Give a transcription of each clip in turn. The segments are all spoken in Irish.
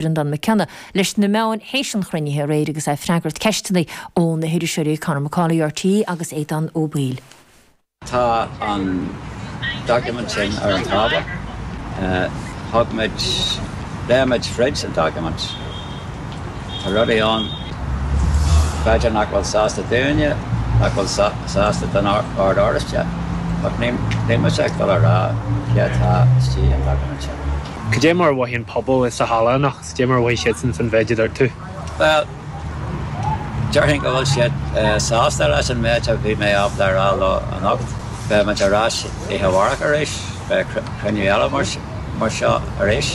Breandán Mac Cionnaith leis na meáin théis an chruinnithe aréir agus é ag freagairt ceisteanna ó na hiriseoirí Conor McCauley, RTÉ agus Aodhán Ó Baoill. Tá an doiciméad sin ar an tábla. Thug muid, léigh muid fríd an doiciméad. Tá rudaí ann b'fhéidir nach bhfuil sásta dúinne, nach bhfuil sásta don Ord Oráisteach, ach níl mise ag dul a rá cé atá istigh an doiciméad sin. Cad é mar a mhothaigh an pobal sa halla anocht? Cad é mar a mhothaigh siadsan faoin mhéid a dúirt tú? Bhuel, déarfainn go bhfuil siad sásta leis an méid a bhí mé ábalta a rá leo anocht. Beidh muid ar ais oíche amárach arís, beidh cruinniú eile mar seo arís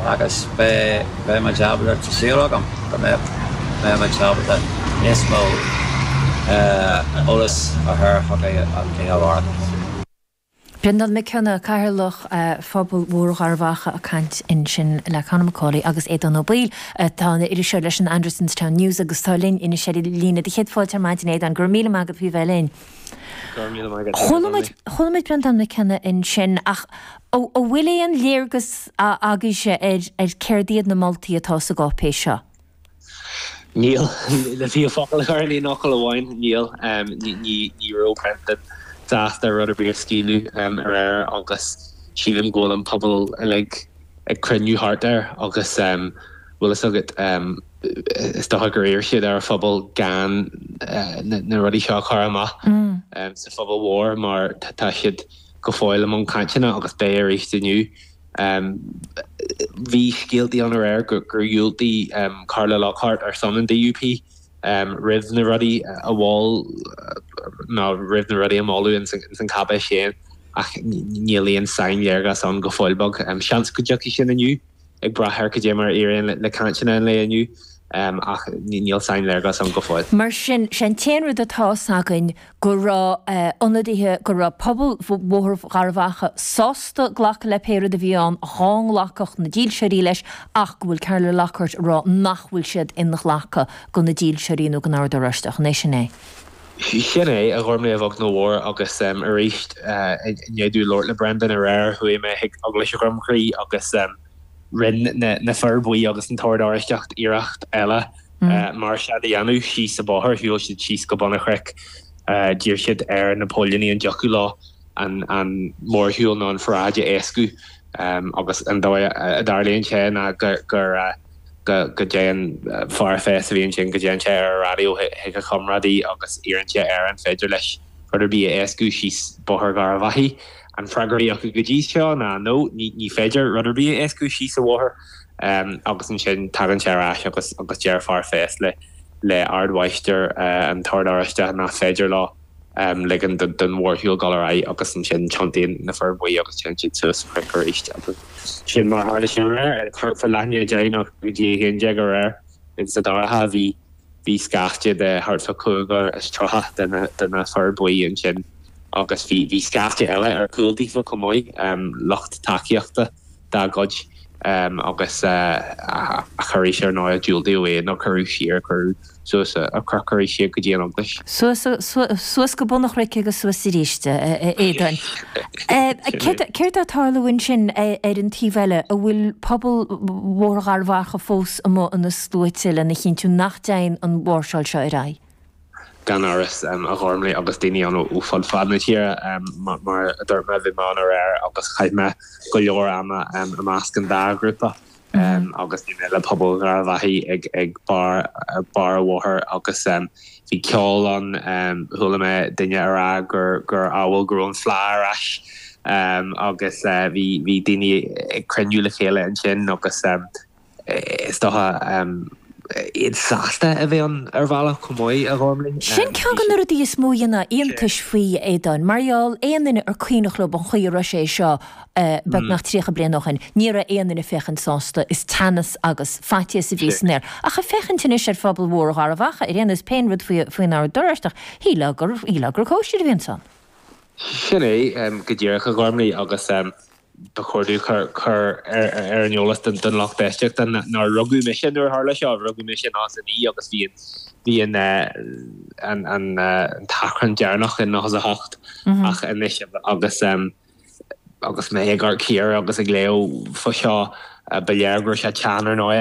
agus beidh muid ábalta, tá súil agam go mbeidh muid ábalta níos mó eolas a chur chucu oíche amárach. Breandán Mac Cionnaith, Cathaoirleach Phobal Bhóthar Gharbh Achaidh ag caint ansin le Conor McCauley agus Aodhán Ó Baoill atá ina iriseoir leis an Andersonstown News agus atá linn anois ar an líne. Do chéad fáilte ar maidin Aodhán, go raibh míle maith agat faoi bheith linn. Go raibh míle maith agat. Chuala muid, chuala muid Breandán Mac Cionnaith ansin ach an bhfuil aon léargas agaibhse ar ar céard iad na moltaí atá sa gcáipéis seo? Níl. Le fiú focal a chur in aon fhocal amháin, níl. Ní raibh Brendan sásta rud ar bith a scaoileadh aréir agus sílim go bhfuil an pobal uilig ag cruinniú thart air agus bhfuil fhios agat, is dócha gur iarr siad ar an phobal gan na rudaí seo a chur amach sa phobal mhór mar tá siad go fóill i mbun cainteanna agus beidh arís inniu. Bhí scéaltaí ann aréir gur dhiúltaigh Carla Lockhart ar son an DUP roimh na rudaí a mhol nó roimh na rudaí a moladh ins an cháipéis féin ach níl aon sainléargas ann go fóill beag. Seans go dtiocfaidh sin inniu, ag brath ar cad é mar a éiríonn le cainteanna an lae inniu ach níl sainléargas ann go fóill. Mar sin, sé an t-aon rud atá fhios againn go raibh ionadaithe, go raibh pobal Bhóthar Gharbh Achaidh sásta glacadh le pé rud a bhí ann dhá nglacfadh na dílseoirí leis ach go bhfuil Carla Lockhart ag rá nach bhfuil siad inghlactha do na dílseoirí nó don Ord Oráisteach. An é sin é? Sin é, a Ghormlaith, a bheag nó a mhór agus arís i ndiaidh domh labhairt le Brendan aréir chuaigh mé chuig Eaglais Dhroim Chrí agus rinne na fir buí agus an tOrd Oráisteach iarracht eile máirseáil a dhéanamh síos an bóthar. Shiúil siad síos go bun an chnoic. D'iarr siad ar na póilíní an dtiocfadh leo an mórshiúl nó an pharáid a éascú agus an dóigh a dtarlaíonn sé ná go go dtéann fear feis a bhí ansin, go dtéann sé ar an raidió chuig a chomrádaí agus iarrann sé air an féidir leis rud ar bith a éascú síos Bóthar Gharbh Achaidh. An freagra a bhí acu go dtí seo ná no, ní féidir rud ar bith a éascú síos an bhóthar. Agus ansin tagann sé ar ais agus agus deir fear feis le le Ardmháistir an tOrd Oráisteach nach féidir leo ligean don mhórshiúl dul ar aghaidh agus ansin tiontaíonn na fir buí agus téann siad suas an cnoc arís agus sin mar a tharla sé aréir. Thart fá leath i ndiaidh 10 nó go dtí 11 aréir insa dorcha bhí bhí scaifte de thart fá 35 de na de na fir buí ansin agus bhí bhí scaifte eile ar chúl daofa chomh maith, lucht tacaíochta. dá gcuid agus ach arís ar ndóigh diúltaíodh é nó cuireadh siar, cuireadh suas an cnoc arís iad go dtí an eaglais. Suas, suas go bun an chnoic agus suas arís, a Aodáin. Céard atá ag tarlú ansin ar an taobh eile? An bhfuil pobal Bhóthar Gharbh Achaidh fós amuigh ina sluaite lena chinntiú nach dtéann an mháirseáil seo ar aghaidh? Gan amhras, a Ghormlaith, agus daoine ann ó fud fad na tíre. Mar a dúirt mé, bhí mé ann aréir agus chaith mé go leor ama i measc an dá ghrúpa agus bhí mé le pobal Gharbh Achaidh ag barr barr an bhóthair agus bhí ceol ann. Chuala mé duine a rá gur gur amhail go raibh an Fleá ar ais agus bhí bhí daoine ag cruinniú le chéile ansin agus Is dócha iad sásta a bheith ann ar bhealach chomh maith, a Ghormlaith. Sin ceann de na rudaí is mó a dhéanfadh iontais faoi, a Aodáin. Mar gheall, aon duine ar cuimhneach leo an chaoi a raibh sé seo beagnach 30 bliain ó shin, ní raibh aon duine ag féachaint sásta, is teannas agus faitíos a bhí san aer. Ach ag féachaint anois ar phobal Bhóthar Gharbh Achaidh, ar aon nós, pé rud faoin Ord Oráisteach, shílfeá gur, shílfeá gur cóisir a bhí ansan. Sin é go díreach, a Ghormlaith, agus Ba chóir domh cur ar an eolas don lucht éisteachta nár rugadh mise nuair a tharla seo, rugadh mise in 99 agus bhí bhí an an t-achrann deireanach in 98 ach anois agus agus mé ag amharc siar agus ag léamh fá seo. Ba léir go raibh sé teann ar ndóigh.